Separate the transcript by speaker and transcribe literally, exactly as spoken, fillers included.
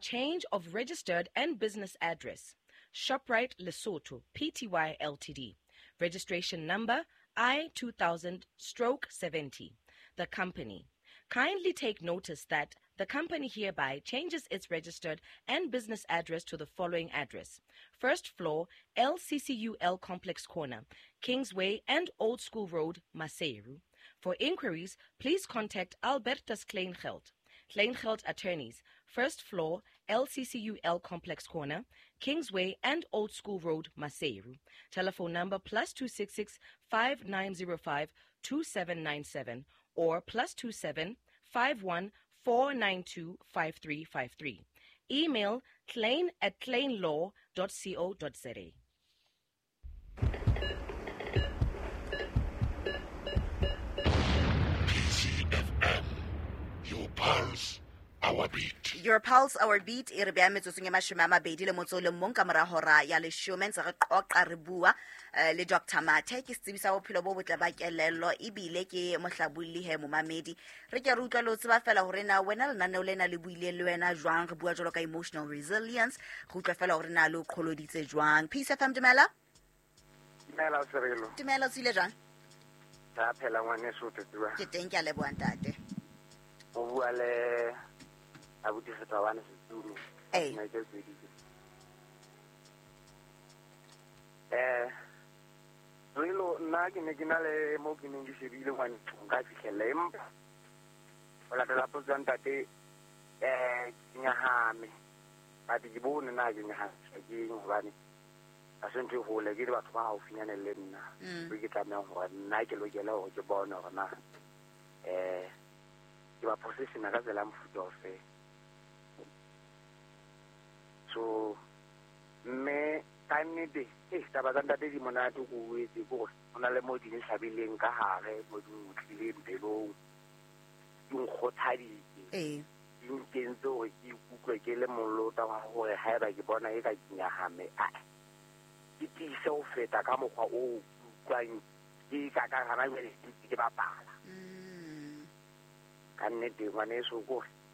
Speaker 1: change of registered and business address. ShopRite Lesotho, P T Y L T D. Registration number I two thousand stroke seventy. The company. Kindly take notice that the company hereby changes its registered and business address to the following address. First floor, L C C U L Complex Corner, Kingsway and Old School Road, Maseru. For inquiries, please contact Albertus Kleingeld. Kleingeld Attorneys, first floor, L C C U L Complex Corner, Kingsway and Old School Road, Maseru. Telephone number plus two six six, five nine zero five, two seven nine seven or plus two seven, five one, four nine two, five three five three. Email klein at kleinlaw dot co dot za.
Speaker 2: P C F M, your pulse, our beat.
Speaker 3: Your pulse, our beat. E re bea metsotsong e mashome a mabedi le motso o le mong ka mora hora ya leshome, ntse re qoqa re bua, eh, le Doctor Mathe, ke setsebi sa bophelo bo botle ba kelello, ebile ke mohlabolli he momamedi. Re ke re utlwa le ho tseba fela hore na wena lenaneo lena le buile le wena jwang, re bua jwalo ka emotional resilience, re utlwa fela hore na le o qholoditse jwang. Peace F M, dumela.
Speaker 4: Dumela, Serelo.
Speaker 3: Dumela, o tswile jwang?
Speaker 4: Ka phela ngwaneso, o tswa.
Speaker 3: Ke teng, ke a leboha ntate.
Speaker 4: O bua le abuti Setabane Setulu.
Speaker 3: Ee.
Speaker 4: Nna ke tsweditse. Eh, Relo, nna ke ne ke na le mo ke neng ke shebile ngwane, nka fihlella, empa ho latela potso ya ntate, eh, ke nyahame. But ke bone na ke nyahamiswa ke eng, hobane ha se ntho e hole, ke le batho ba haufinyane le nna.
Speaker 3: Mm.
Speaker 4: Ke tlameha hore nna ke lokele hore ke bone hore na, eh, ke ba positiona ka tsela ya mofuta ofe. So, mme ka nnete, eh, taba tsa ntate di monate ko o etse, ke hore ho na le moo di nhlabileng ka hare, moo di nkutlwileng pelong, di nkgothaditse.
Speaker 3: Ee.
Speaker 4: Di nkentse hore ke ikutlwe ke le molota wa hore haeba ke bona eka ke nyahame, a, ke tiise ho feta ka mokgwa oo ke utlwang ke ka ka hana jwale ke ntse ke bapala.
Speaker 3: Mm.
Speaker 4: Ka nnete, ngwaneso, ke hore